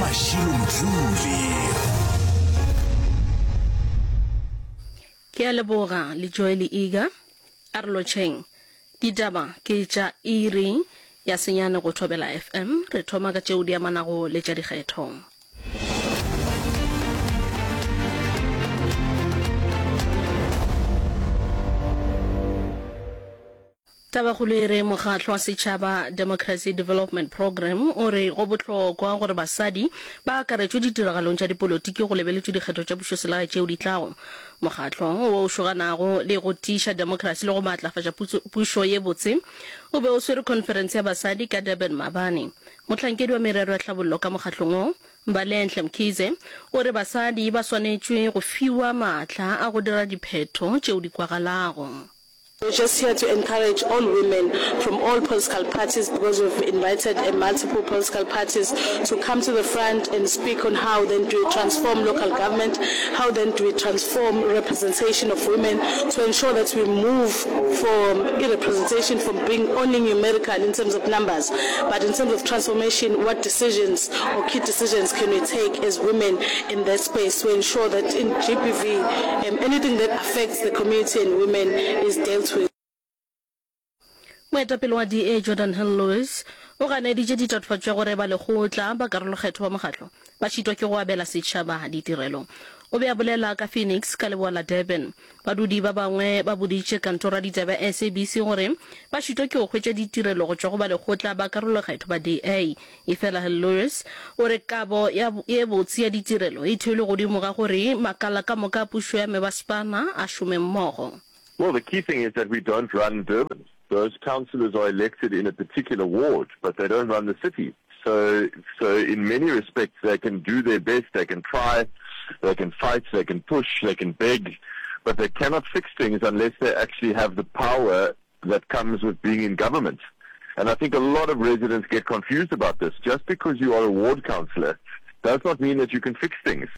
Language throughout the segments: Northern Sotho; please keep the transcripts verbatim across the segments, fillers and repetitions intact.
Mashilo Mdluli. Ke a leboga le Joy le Iga. A re lotšheng. Ditaba ke tša iri ya senyane go Thobela F M. Re thoma ka tšeo di amanago le tša dikgetho. Tabakgolo e re mokgatlo wa setšhaba Democracy Development Programme o re go bohlokwa gore basadi ba akaretšwe ditiragalong tša dipolotiki go lebeletšwe dikgetho tša pušoselegae tšeo di tlago. Mokgatlo wo o šoganago le go tiiša demokrasi le go maatlafatša pušo ye botse o be o swere khonferense ya basadi ka Durban maabane. Mohlankedi wa merero ya tlhabollo ka mokgatlong wo, Mbalenhle Mkhize, o re basadi ba swanetšwe go fiwa maatla a go dira diphetho tšeo di kwagalago. We're just here to encourage all women from all political parties, because we've invited multiple political parties to come to the front and speak on how then do we transform local government, how then do we transform representation of women to ensure that we move from representation from being only numerical in terms of numbers, but in terms of transformation, what decisions or key decisions can we take as women in that space to ensure that in G B V, um, anything that affects the community and women is dealt with. Moetapele wa D A Geordin Hill-Lewis o ganeditše ditatofatšo tša gore balekgotla ba karolokgetho ba mokgatlo ba šitwa ke go abela setšhaba ditirelo. O be a bolela ka Phoenix ka leboa la Durban. Badudi ba bangwe ba boditše kantoro ya ditaba ya S A B C gore ba šitwa ke go hwetša ditirelo go tšwa go balekgotla ba karolokgetho ba D A. Efela Hill-Lewis o re kabo ya ye botse ya ditirelo e theilwe godimo ga gore makala ka moka a pušo ya mebasepala a šome mmogo. Well, the key thing is that we don't run Durban. Those councillors are elected in a particular ward, but they don't run the city. So, so in many respects, they can do their best, they can try, they can fight, they can push, they can beg, but they cannot fix things unless they actually have the power that comes with being in government. And I think a lot of residents get confused about this. Just because you are a ward councillor does not mean that you can fix things.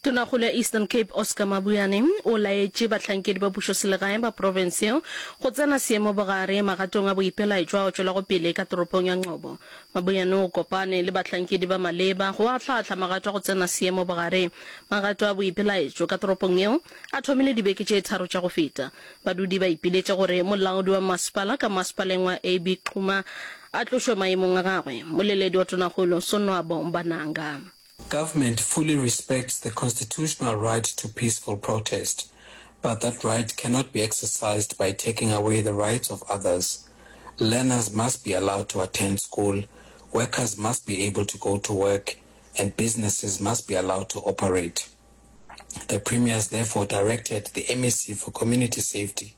Tonakgolo ya Eastern Cape Oscar Mabuyane o laetše bahlankedi ba pušoselegae ba profense yeo go tsena seemo bogare magatong a boipelaetšo ao tšwelago pele ka toropong ya Ngcobo. Mabuyane o kopane le bahlankedi ba maleba go ahlaahla magato a go tsena seemo bogare. Magato a boipelaetšo ka toropong yeo a thomile dibeke tše tharo tša go feta. Badudi ba ipiletša gore molaodi wa masepala ka masepaleng wa A B Xuma a tlošwe maemong a gagwe. Moleledi wa Tonakgolo Sonwabo Mbananga. Government fully respects the constitutional right to peaceful protest, but that right cannot be exercised by taking away the rights of others. Learners must be allowed to attend school, workers must be able to go to work, and businesses must be allowed to operate. The Premier has therefore directed the M E C for Community Safety,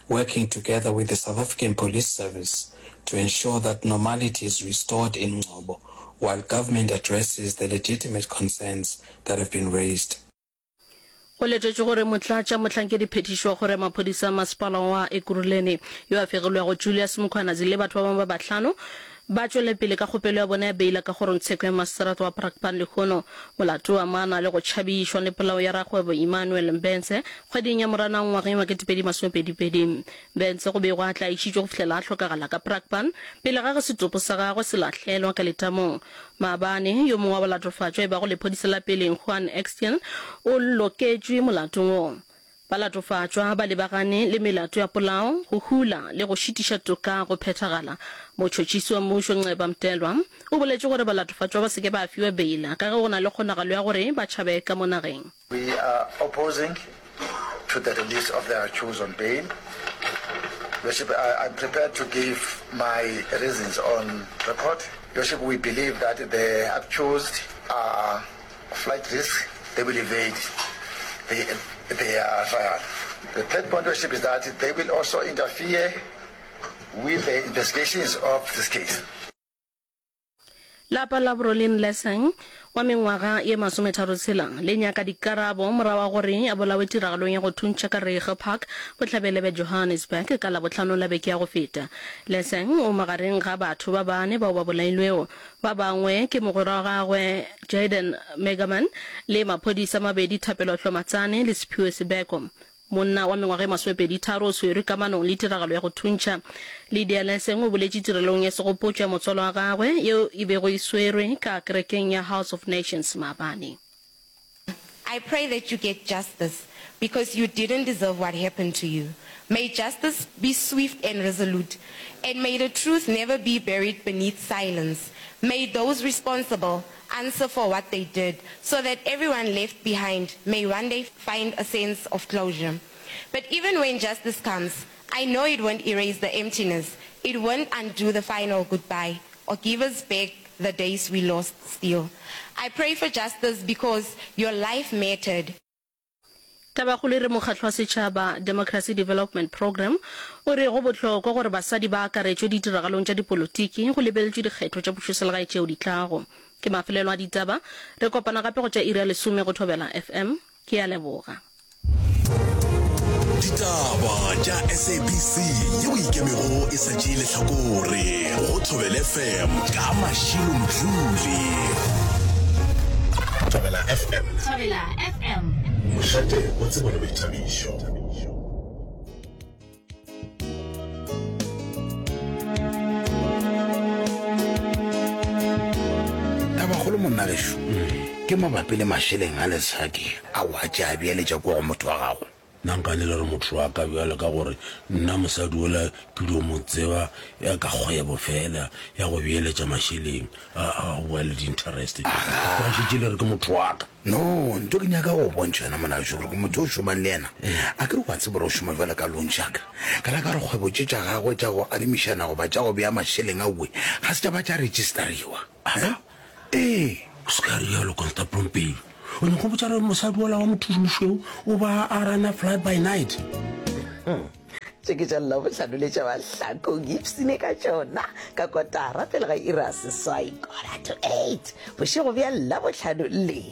working together with the South African Police Service, to ensure that normality is restored in Ngcobo while government addresses the legitimate concerns that have been raised. Go letetšwe gore motlatša mohlankediphethiši wa kgoro ya maphodisa a masepala wa Ekurhuleni yo a fegilwego Julius Mkhwanazi le batho ba bangwe ba bahlano ba tšwele pele ka kgopelo ya bona ya beila ka kgorongtsheko ya maseterata wa Brakpan lehono. Molato o amana le go tšhabišwa le polao ya rakgwebo Emmanuel Mbense kgweding ya Moranang ngwageng wa ketepedi masomepedi pedi. Mbense go bego a tlaišitšwe go fihlela a hlokagala ka Brakpan pele ga ge setopo sa gagwe se lahlelwa ka letamong. Maabane, yo mongwe wa balatofatšwa e bago lephodisa la peleng Juan Eksteen o loketšwe molatong wo. Balatofatšwa ba lebagane le melato ya polao, go hula le go šitiša toka go phethagala. Motšhotšhisi wa mmušo Nceba Mtelwa o boletše gore balatofatšwa ba se ke ba fiwa beila ka ge go na le kgonagalo ya gore ba tšhabe ka mo nageng. We are opposing to the release of the accused on bail. Worship, I, I'm prepared to give my reasons on record. Worship, we believe that the accused are flight risk, they will evade the, their trial. The third point, Worship, is that they will also interfere with the investigations of this case. Lapa la Brolin Lesang wa mengwaga ye masometharo tshela le nyaka dikarabo morago ga gore a bolawe tiragalong ya go thuntšha ka Reiger Park bohlabela bja Johannesburg ka Labohlano la beke ya go feta. Lesang o magareng ga batho ba bane bao ba bolailwego. Ba bangwe ke mogwera wa gagwe Jayden Megaman le maphodisa a mabedi Thapelo Hlomatsane le Siphiwe Sibeko. Monna wa mengwaga e masomepedi tharo o swerwe kamanong le tiragalo ya go thuntšha. Lydia Leseng o boletše tirelong ya segopotšo ya motswalo wa gagwe yeo e bego e swerwe ka kerekeng ya House of Nations maabane. I pray that you get justice because you didn't deserve what happened to you. May justice be swift and resolute, and may the truth never be buried beneath silence. May those responsible answer for what they did, so that everyone left behind may one day find a sense of closure. But even when justice comes, I know it won't erase the emptiness. It won't undo the final goodbye or give us back the days we lost still. I pray for justice because your life mattered. Tabakgolo e re Mokgatlo wa Setšhaba, Democracy Development Programme, o re go bohlokwa gore basadi ba akaretšwe ditiragalong tša dipolotiki go lebeletšwe dikgetho tša pušoselegae tšeo di tlago. Ke mafelelo a ditaba. Re kopana gape go tša iri ya lesome go Thobela F M. Ke a leboga. Ditaba tša S A B C yeo e ikemego e sa tšee lehlakore go Thobela F M ka Mashilo Mdluli. Thobela F M. Thobela F M. Mošate wa tsebo le boithabišo. Tabakgolo monna gešo ke mabapi le mašeleng a lesadi a o a tše a beeletša kua go motho wa gago. Nna nka ne le re motho wa ka bjalo ka gore nna mosadi ola ke dio mo tseba ya ka kgwebo fela ya go beeletša mašeleng a a go boya le di-interest. Ka šetše le re ke motho wa ka. No, nto ke nyaka go bontšha yona mona gešo gore ke motho o šomang le yena. A ke re wa tseba gore o šoma bjalo ka loan shark. Ka la ka gore kgwebo tše tša gagwe tša go adimišana goba tša go bea mašeleng aowe ga se tša ba tša registariwa. Aga? Ee. O se ka realo, Constable Mpedi. O nyaka go botša gore mosadi wola wa mothušomošweu o ba a rana fly by night? Tše ke tša Labohlano le tša Mahlakong, ipsine ka tšona ka kotara pele ga iri ya seswai, quarter to eight, bošego bja Labohlano le.